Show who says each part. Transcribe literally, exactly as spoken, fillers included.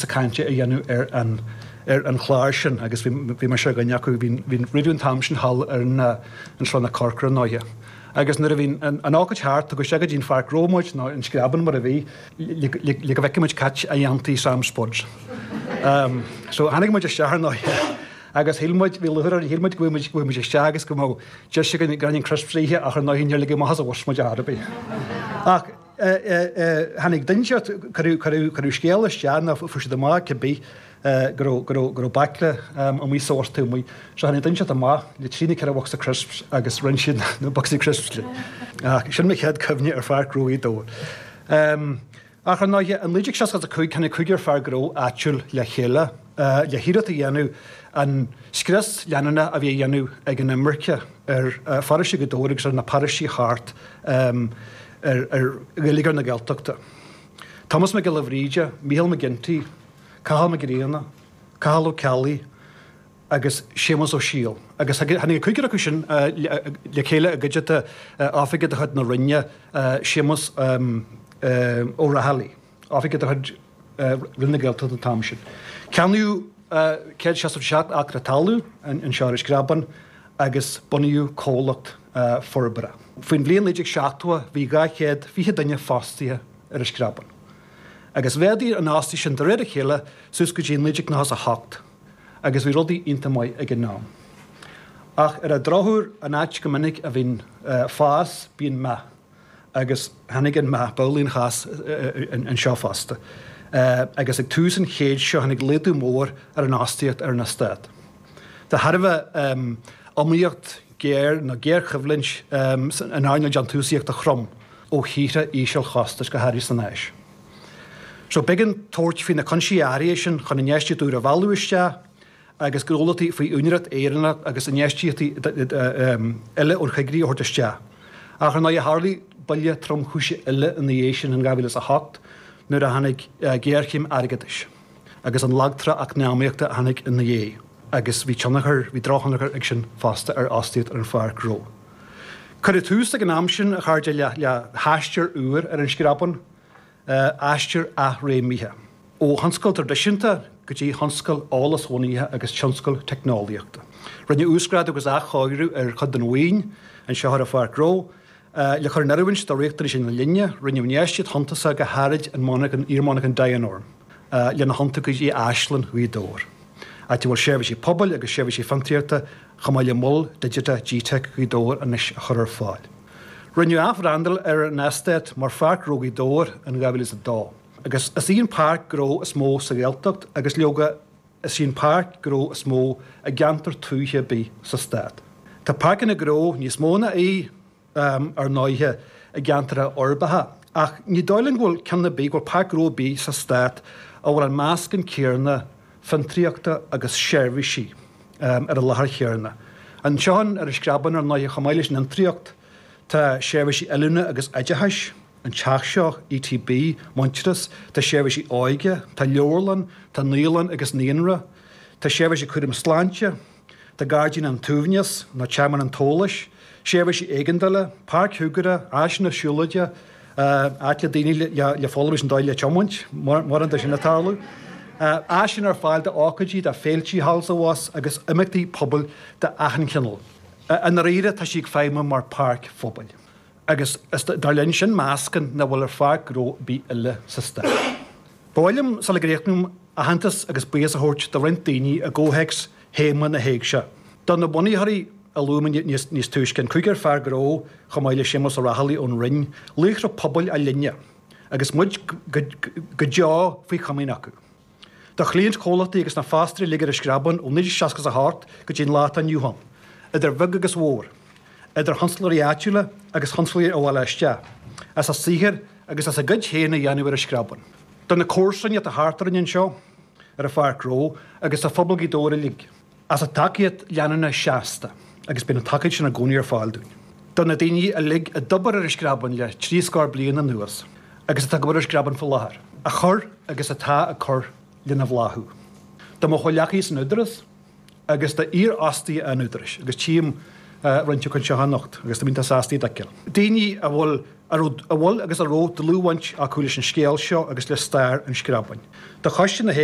Speaker 1: píosa cainte a dhéanamh ar an ar an chlár sin agus bhí mise ar dhuine acu bhí roimh an t-am sin thall ar an an Sruth na Corcra ndóighe. Agus nuair a bhí an ócáid thart tugadh isteach go dtí an pháirc ghnó muid nó an Screabán mar a bhí le go bhfeicfeadh muid cad a dhéantaí Sam Spuds. Um, so tháinig muid isteach ar ndóighe agus shíl muid bhí lúcháir orainn shíl muid go bhfuil muid isteach agus go mbeadh deis againn gráinnín crisps a ithe ach ar ndóighe níor ligeadh amach as an bhus muid ar bith. Ach tháinig duine cuireadh scéal isteach nó fuair siad amach cibé go raibh go raibh go raibh baicle amuigh sa bhus taobh amuigh. So tháinig duine amach le trí nó ceithre bhocsa crisps agus roinn siad na bocsaí crisps linn. Ach sin mo chéad cuimhne ar Pháirc Ghnó Ghaoth Dobhair. Um, ach ar ndóighe in naoi déag seasca a cúig tháinig cúigear fear gnó áitiúil le chéile le hiarracht a dhéanamh an scrios leanúnach a bhí á dhéanamh ag an imirce ar pharóiste Ghaoth Dobhair agus ar na paróistí thart um, ar, ar gheilleagar na Gaeltachta. Thomas Mac Giolla Bhríde, Micheál McGinty, Cathal Mac Grianna, Cathal Ó Ceallaigh agus Séamus Ó Siadhail. Agus tháinig cúigear acu sin le chéile i gcuideachta oifigeach de chuid na Roinne Séamus um, Ó Raghallaigh, oifigeach de chuid Roinn na Gaeltachta an t-am sin. Ceannaíodh céad seasca seacht acra talún anseo ar an Screabán agus bunaíodh comhlacht forbartha. Faoin bhliain naoi déag seachtó bhí dhá chéad fiche duine fostaithe ar an Screabán. Agus mhéadaigh an fhostaíocht sin de réir a chéile suas go dtí naoi déag nócha a hocht, agus bhí rudaí iontach maith ag an am. Ach ar an drochuair an áit go minic a bhíonn fás bíonn meath, agus tháinig an meath b'amhlaidh an cás anseo fosta. Agus ag tús an chéid seo tháinig laghdú mór ar an fhostaíocht ar an eastát. De thairbhe iomaíocht géar nó géarchoimhlint in earnáil déantúsaíochta throm ó thíortha ísealchostais go háirithe san Áis. So b'éigean tabhairt faoi na cúinsí áirithe sin chun infheistíocht úr a mhealladh isteach agus gnólachtaí faoi úinéireacht Éireannach agus infheistíochtaí eile ón choigríoch a thabhairt isteach. Ach ar ndóigh tharlaigh buille tromchúiseach eile ina dhiaidh sin in dhá mhíle is a hocht nuair a tháinig géarchéim airgeadais agus an lagtrá eacnamaíochta a tháinig ina dhiaidh agus bhí tionchar, bhí drochthionchar ag sin fosta ar fhostaíocht ar an pháirc ghnó. Cuireadh tús ag an am sin a chairde le le haistear úr ar an Screabán, aistear athréimithe. Ó thionscal traidisiúnta go dtí thionscal eolasbhunaithe agus tionscal teicneolaíochta. Rinneadh uasghrádú agus athchóiriú ar chuid den mhaoin anseo ar an pháirc ghnó le cur in oiriúint do riachtanais na linne, rinneadh infheistíocht shuntasach go háirid in monarchan iar-mhonarchan Dianorm lena thiontú go dtí Áislann Ghaoth Dobhair, áit a bhfuil seirbhísí pobail agus seirbhísí fiontraíochta chomh maith le mol digiteach G-Tech Ghaoth Dobhair anois a chur ar fáil. Rinneadh athbhrandáil ar an eastát mar Pháirc Ghnó Ghaoth Dobhair in dhá mhíle is a dó, agus is í an páirc ghnó is mó sa Ghaeltacht agus leoga is í an páirc ghnó is mó i gceantar tuaithe ar bith sa stát. Tá páirceanna gnó níos mó ná í, ar ndóighe, i gceantracha uirbeacha, ach ní dóigh liom go bhfuil ceann ar bith, go bhfuil páirc ghnó ar bith sa stát a bhfuil an meascán céanna fiontraíochta agus seirbhísí ar an láthair chéanna. Anseo ar an Screabán, ar ndóighe, chomh maith leis an fhiontraíocht, tá seirbhísí oiliúna agus oideachais, an teach seo, ETB, Muintearas, tá seirbhísí óige, tá leabharlann, tá naíolann agus naíonra, tá seirbhísí cúraim sláinte, tá Gairdín an tSuaimhnis, nó Tearmann an tSóláis, seirbhísí éigeandála, páirc shúgartha, áiseanna siúlóide, áit le daoine le foghlaim leis an dóigh le tiomáint, mórán de sin ag tarlú, áiseanna ar fáil d'ócáidí, do féiltí thall is abhus agus imeachtaí pobail d'achan chineál. I ndáiríre, tá sí ag feidhmiú mar pháirc phobail. Agus is dar linn sin meascán nach bhfuil ar pháirc ghnó ar bith eile sa stát. Ba mhaith liom, sula gcríochnaím, aitheantas agus buíochas a thabhairt do roinnt daoine i gcomhthéacs théama na héigse. Do na bunaitheoirí a luaigh mé níos túisce, an cúigear fear gnó chomh maith le Séamus Ó Raghallaigh ón Rinn, laochra pobail a linne agus muid go deo faoi chomaoin acu. Do chliaint chomhlachtaí agus na fostóirí uilig ar an Screabán ó naoi déag seasca a hocht go dtí an lá atá inniu ann, idir bheag agus mhór, idir thionsclóirí áitiúla agus thionsclóirí ó bhaile isteach, as a saothar agus as a gcuid féin a dhéanamh ar an Screabán. Do na comharsana atá thart orainn anseo ar an Pháirc Ghnó agus do phobal Ghaoth Dobhair uilig, as a dtacaíocht leanúnach seasta, agus bíonn an tacaíocht sin i gcónaí ar fáil dúinn. Do na daoine uilig a d'obair ar an Screabán le trí scór bliain anuas agus atá ag obair ar an Screabán faoi láthair, a chuir agus atá ag cur lena bhláthú. Do mo chomhghleacaithe san Údarás agus d'iarfhostaithe an Údaráis, agus tchím roinnt acu anseo anocht agus táim iontach sásta iad a fheiceáil. Daoine a bhfuil, a raibh, a bhfuil agus a raibh dlúthbhaint acu leis an scéal seo agus le stair an Screabáin. Do Choiste na hÉigse,